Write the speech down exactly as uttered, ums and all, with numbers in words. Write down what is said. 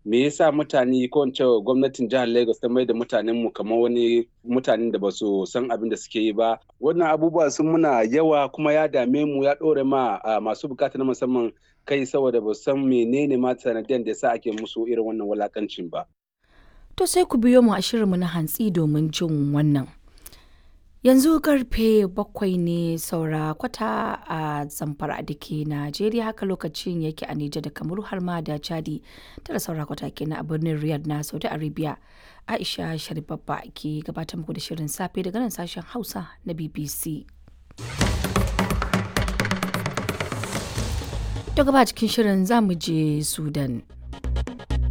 Me yasa mutane ko in ce gwamnatin jihar Lagos ta mai da mutanen mu kamar wani mutanen da ba su san abin da suke yi ba. Wannan abubuwa sun muna yawa kuma ya dame mu, ya ɗore ma masu bukata na musamman kai, saboda ba san menene ma sanadiyan da yasa ake musu irin wannan wulakancin ba. To sai ku biyo mu a shirinmu na hantsi domin jin wannan. Yanzu karfe bakwai ne saura kwata a Zamfara da ke Najeriya, haka lokacin yake a Nijar da Kamaru har ma da Chadi. Tara saura kwata kenan a birnin Riyadh na Saudi Arabia. Aisha Sharibabba ke gabatar muku da shirin safe daga nan sashen Hausa na B B C. Daga ba cikin shirin zamu je Sudan.